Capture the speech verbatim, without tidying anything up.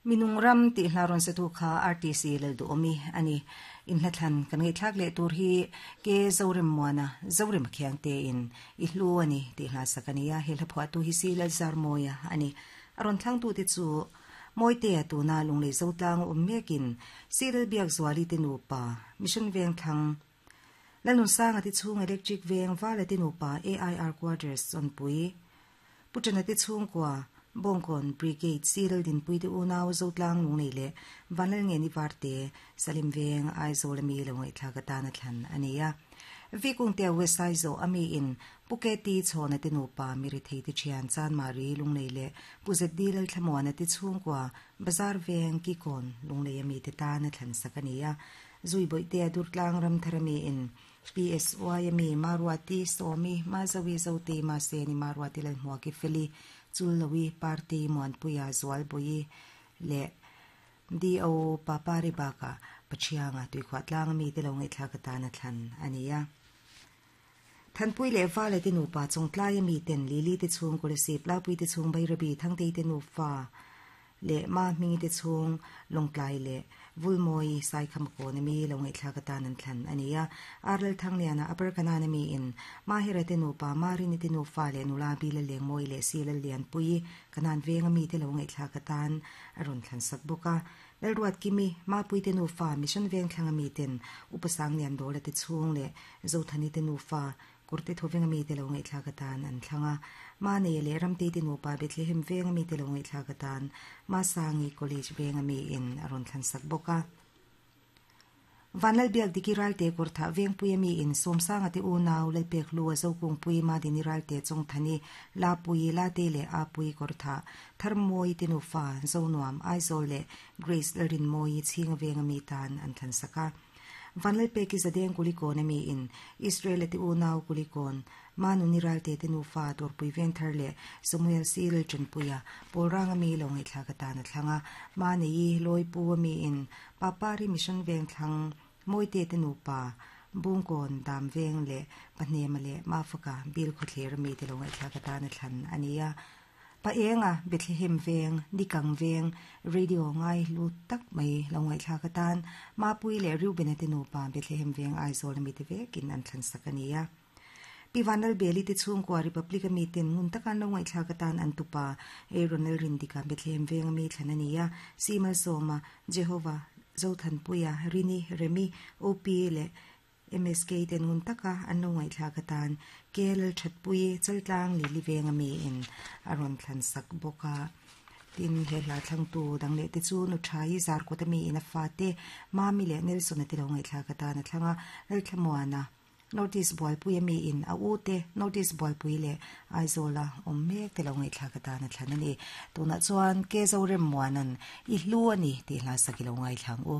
Minung ram tih hla rawn satu kha R T C Lalduhawmi a ni. Inhla thlan kan ngaihthlak leh tur hi ke Zorem Muana, Zorem Khiang tein i hlu a ni tih hla sak a ni a. He hla phuahtu hi si Lalzarmawia a ni. A rawn thlangtu te chu Mawitea tuna Lunglei Zotlang awm mekin si Lalbiakzuali te nupa Mission Vengthlang Lalnunsanga te chhung Electric Veng Vala te nupa A I R Quarters Chawnpui Puṭana te chhungkua Bawngkawn Brigade si Laldinpui te unau Zotlang Lunglei leh Vanlalngeni Varte Salim Veng Aizawl ami lo ngaihthlak atana thlan a ni a. Vikungtea West Aizawl ami in Puketi chhawna te nupa Mirithei te thian Chanmari Lunglei leh Puzet D Lalthlamuana te chhungkua Bazar Veng Kikawn Lunglei ami te tana thlan sak a ni a. Zuibawihtea Durtlang Ramthar ami in P S Y ami Maruati Sawmi Mazawi Zote Maseni Maruati Lalhmuaki Feli Chullowi Party Muanpuia Zualbawi leh D O Papari baka Pachianga tuikhuah tlang ami te lo ngaihthlak atana thlan a ni a. Thanpui leh Vale te nupa chawngtlai ami ten Lili te chhung Kolasib Lapui te chhung Bairabi Thangtei te nufa leh Ma Hmingi te chhung Lawngtlai leh Vulmawi Saikhamakawn ami lo ngaihthlak atan an thlan a ni a. Arlal Thangliana Upper Kanan ami in Mahira te nupa Marini te nufa leh Nula Bila Lengmawi leh Silal Lianpui Kanan Veng ami te lo ngaihthlak atan a rawn thlan sak bawk a. Lalruat Kimi Mapui te nufa Mission Veng thlang ami ten Upasang Lian Dawla te chhung leh Zothani te nufa Kurte Thoveng ami te lo ngaihthlak atan an thlang a. Ma nei leh Ramtei te nupa Bethlehem Veng ami te lo ngaihthlak atan Masangi College Veng ami in a rawn thlan sak bawk a. Vanlalbiak Diki Ralte Kurtha Vengpui ami in Sawmsanga te unau Lalpek Hlua Zokungpui Madini Ralte Chawngthani Lapui Late leh Apui Kurtha Tharmawi te nufa Zonuam Aizawl leh Grace Lalrinmawi Chhinga Veng ami tan an thlan sak a. Vanlalpeki Zadeng Kulikawn ami in Israel te unau Kulikawn Manuni Ralte te nufa Dawrpui Vengthar leh Samuel C Lalchanpuia Pawlrang ami lo ngaihthlak atana thlang a. Manei Lawipu ami in Papari Mission Vengthlang Mawite te nupa Bungkawn Dam Veng leh Pahnema leh Mafaka Bil Khawthlir ami te lo ngaihthlak atana thlan a ni a. Paenga Bethlehem Veng Nikang Veng Radio ngai lu tak mai lo ngaihthlak atan Mapui leh Reuben te nupa Bethlehem Veng Aizawl ami te vekin an thlan sak a ni a. Pivanal Beli te chhungkua Republic ami ten ngun takan lo ngaihthlak atan an tupa Aaron Lalrindika Bethlehem Veng ami thlan a ni a. Simal Sawma Jehovah Zothanpuia Rini Remi O P leh M S K ten ngun taka an lo ngaihthlak atan K L Thatpui Chaltlang Lili Veng ami in a rawn thlan sak bawk a. Tin he hla thlangtu dang leh te chu nu thai zarkawt ami in a fa te Mami leh Nelson te lo ngaihthlak atan a thlanga Lalthlamuana Northeast Bualpui ami in a u te Northeast Bualpui leh Aizawla awm mek te lo ngaihthlak atan a thlan a ni. Tunah chuan ke Zorem Muanan i hlu a ni tih hla sak i lo ngaithlang u.